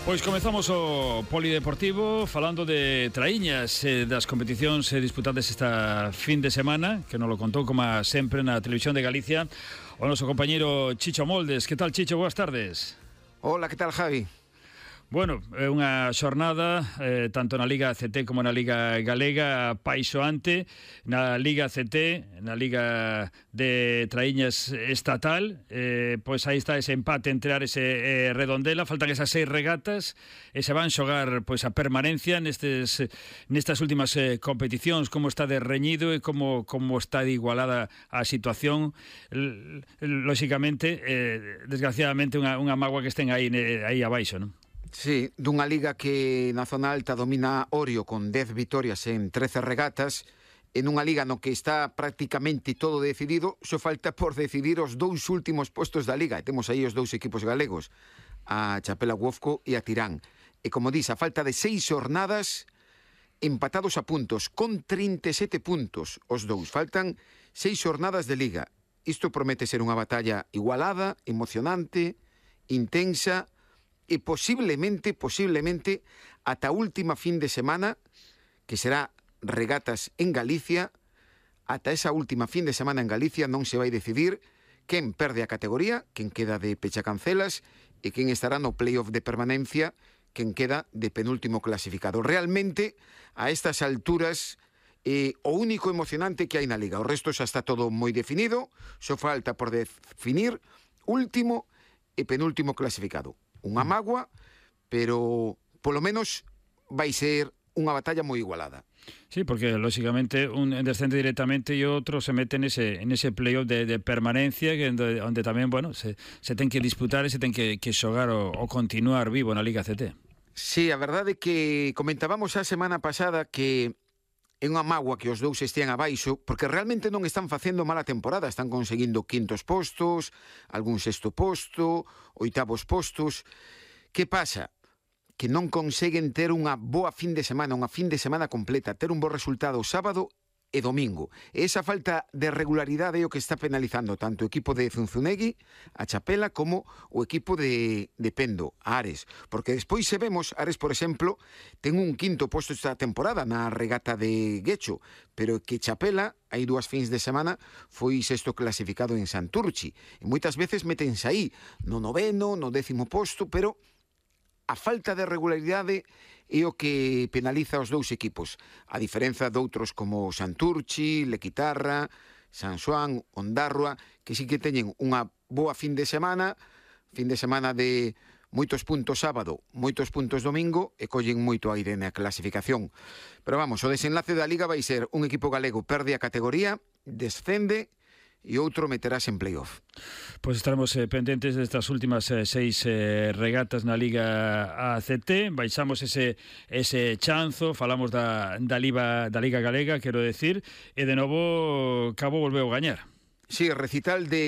Pois comezamos o polideportivo falando de traíñas das competicións disputadas esta fin de semana, que nos lo contou como sempre na Televisión de Galicia o noso compañeiro Chicho Moldes. Que tal, Chicho? Boas tardes. Hola, que tal, Javi? Bueno, é unha xornada tanto na Liga ACT como na Liga Galega apaixoante. Na Liga ACT, na Liga de Traíñas Estatal, pois aí está ese empate entre Ares e Redondela. Faltan esas 6 regatas e se van xogar pois a permanencia nestas últimas competicións. Como está de reñido e como está de igualada a situación. Lóxicamente, desgraciadamente, unha mágoa que estén aí abaixo, non? Sí, dunha liga que na zona alta domina Orio con 10 vitorias en 13 regatas, en unha liga no que está prácticamente todo decidido, só falta por decidir os dous últimos postos da liga. E temos aí os dous equipos galegos, a Chapela Guofco e a Tirán. E como dis, a falta de 6 xornadas empatados a puntos, con 37 puntos os dous. Faltan 6 xornadas de liga. Isto promete ser unha batalla igualada, emocionante, intensa, e posiblemente, ata a última fin de semana, que será regatas en Galicia, ata esa última fin de semana en Galicia non se vai decidir quen perde a categoría, quen queda de pechacancelas e quen estará no playoff de permanencia, quen queda de penúltimo clasificado. Realmente, a estas alturas, o único emocionante que hai na Liga. O resto xa está todo moi definido, só falta por definir último e penúltimo clasificado. Unha mágoa, pero polo menos vai ser unha batalla moi igualada. Sí, porque lógicamente un descende directamente e outro se mete nese playoff de permanencia onde tamén, bueno, se ten que disputar e se ten que xogar o continuar vivo na Liga CT. Sí, a verdade é que comentábamos a semana pasada que é unha mágoa que os dous estean abaixo, porque realmente non están facendo mala temporada, están conseguindo quintos postos, algún sexto posto, oitavos postos. Que pasa? Que non conseguen ter unha boa fin de semana, unha fin de semana completa, ter un bo resultado sábado e domingo. E esa falta de regularidade é o que está penalizando tanto o equipo de Zunzunegui, a Chapela, como o equipo de Pendo, a Ares. Porque despois se vemos, Ares, por exemplo, ten un quinto posto esta temporada na regata de Guecho, pero que Chapela, hai 2 fins de semana, foi sexto clasificado en Santurchi. E moitas veces métense aí, no 9º, no 10º posto, pero a falta de regularidade é o que penaliza os dous equipos, a diferenza doutros como Santurchi, Lequitarra, San Xoán, Ondarroa, que sí que teñen unha boa fin de semana de moitos puntos sábado, moitos puntos domingo, e collen moito aire na clasificación. Pero vamos, o desenlace da Liga vai ser un equipo galego perde a categoría, descende, e outro meterás en playoff. Pois estaremos pendentes destas últimas 6 regatas na Liga ACT. Baixamos ese chanzo, falamos da Liga Galega, quero decir, e de novo Cabo volveu gañar. Sí, recital de